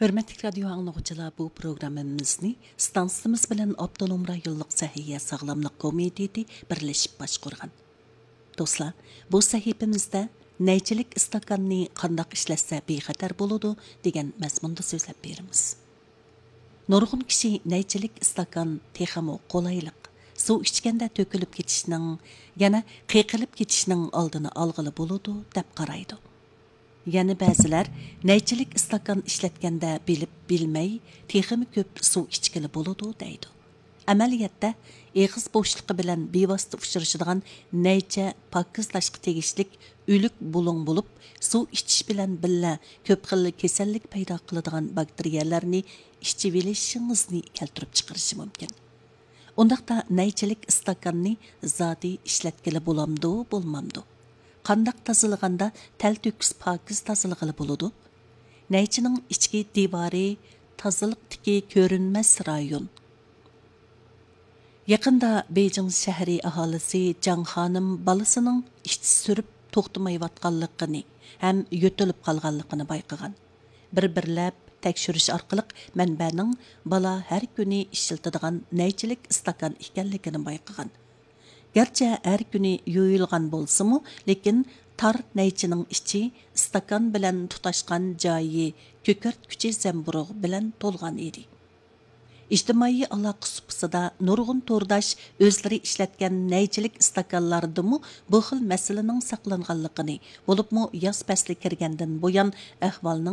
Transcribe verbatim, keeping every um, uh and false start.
ھۆرمەتلىك رادىيو ئاڭلىغۇچىلار، بۇ پروگراممىمىزنى ستانسىمىز بىلەن ئاپتونوم رايونلۇق سەھىيە ساغلاملىق كومىتېتى بىرلىشىپ باشقۇرغان. دوستلار، بۇ سەھىپىمىزدە نەيچىلىك ئىستاكاننى قانداق ئىشلەتسە بىخەتەر بولىدۇ دېگەن مەزمۇندا سۆزلەپ بېرىمىز. نۇرغۇن كىشى نەيچىلىك ئىستاكان تېخىمۇ قولايلىق، سۇ ئىچكەندە تۆكۈلۈپ كېتىشنىڭ، يەنە قېقىلىپ كېتىشنىڭ ئالدىنى ئالغىلى بولىدۇ، دەپ قارايدۇ. يەنە بەزىلەر نەيچىلىك ئىستاكان ئىشلەتكەندە بىلىپ بىلمەي تېخىمۇ كۆپ سۇ ئىچكىلى بولىدۇ، دەيدۇ. ئەمەلىيەتتە، ئېغىز بوشلۇقى بىلەن بىۋاسىتە ئۇچرىشىدىغان نەيچە پاكىزلاشقا تېگىشلىك ئۆلۈك بۇلۇڭ بولۇپ، سۇ ئىچىش بىلەن بىللە كۆپ خىل كېسەللىك پەيدا قىلىدىغان باكتېرىيەلەرنى ئىچىۋېلىشىڭىزنى كەلتۈرۈپ چىقىرىشى مۇمكىن. ئۇنداقتا نەيچىلىك ئىستاكاننى زادى ئىشلەتكىلى بولامدۇ، بولمامدۇ؟ قانداق تازىلىغاندا تەلتۆكۈس پاكىز تازىلىغىلى بولىدۇ؟ نەيچىنىڭ ئىچكى دىۋارى تازىلىقتىكى كۆرۈنمەس رايون. يېقىندا بېيجىڭ شەھىرى ئاھالىسى جاڭ خانىم بالىسىنىڭ ئىچ سۈرۈپ توختىمايۋاتقانلىقىنى ھەم يۆتىلىپ قالغانلىقىنى بايقىغان. بىر-بىرلەپ تەكشۈرۈش ئارقىلىق مەنبەنىڭ بالا ھەر كۈنى ئىشلىتىدىغان نەيچىلىك ئىستاكان ئىكەنلىكىنى بايقىغان. گەرچە ھەر كۈنى يۇيۇلغان بولسىمۇ، لېكىن تار نەيچىنىڭ ئىچى ئىستاكان بىلەن تۇتاشقان جايى كۆكەرتكۈچى زەمبۇرۇغ بىلەن تولغان ئىدى. ئىجتىمائىي ئالاقە سۇپىسىدا نۇرغۇن تورداش ئۆزلىرى ئىشلەتكەن نەيچىلىك ئىستاكانلاردىمۇ بۇ خىل مەسىلىنىڭ ساقلانغانلىقىنى، بولۇپمۇ ياز پەسلى كىرگەندىن بۇيان ئەھۋالنىڭ